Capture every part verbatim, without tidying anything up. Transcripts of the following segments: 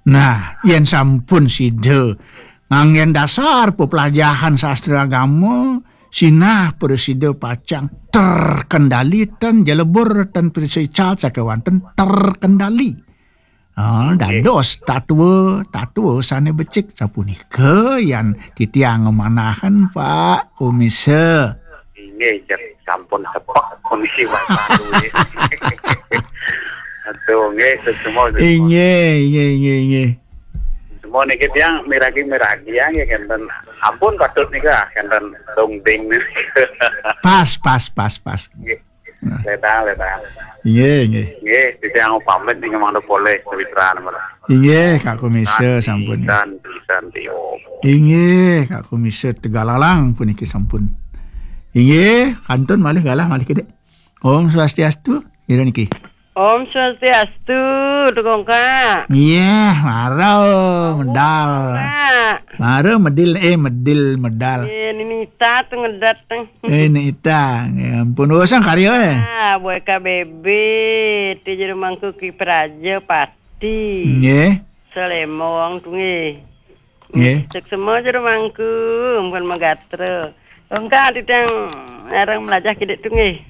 Nah, yén sampun sida nganggén dasar pepelajahan sastra agama, sinah prasida pacang terkendali, tan jelebur, tan prasida ical sakéwanten terkendali. Ah, dados tatua, tatua sané becik sapunika yan titiang ngamanahan, Pak Komisa. Inggih, cek sampun tepek kondisi Bapak dulu. Aduh, nggih, semua, semua. Inggih, inggih, inggih, inggih. Semua niki tiang miragi-miragi ya, nggih, kenten. Ampun, patut nika, kenten dongding nika. Pas, pas, pas, pas. Nggih. Nah. Ledang, ledang. Inggih, inggih. Nggih, titiang pamit nika mangda polih, Pawitra, nggih. Inggih, Kak Komisa, santi, sampun. Santi, santi, Om. Inggih, Kak Komisa Tegalalang puniki sampun. Inggih, kantun malih galah malih kidik. Om Swastiastu, ira niki. Om Swastiastu, Tukang Kak. Iya, mara medal. Kak. Mara medil, eh, medil, medal. Eh, Nini Ita tu ngedat tu. Eh, Nini Ita. Ya ampun, urusan karya, eh. Ah, buat K B B, ti jero mangku Ki Praja Pati. Nggih. Selembong tu nggih. Nggih. Cek semua jero mangku, ampun magatra. Engka titiang arang melajah kidik tu nggih.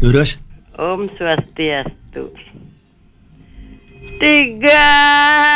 Durus. Om Swastiastu. Tiga.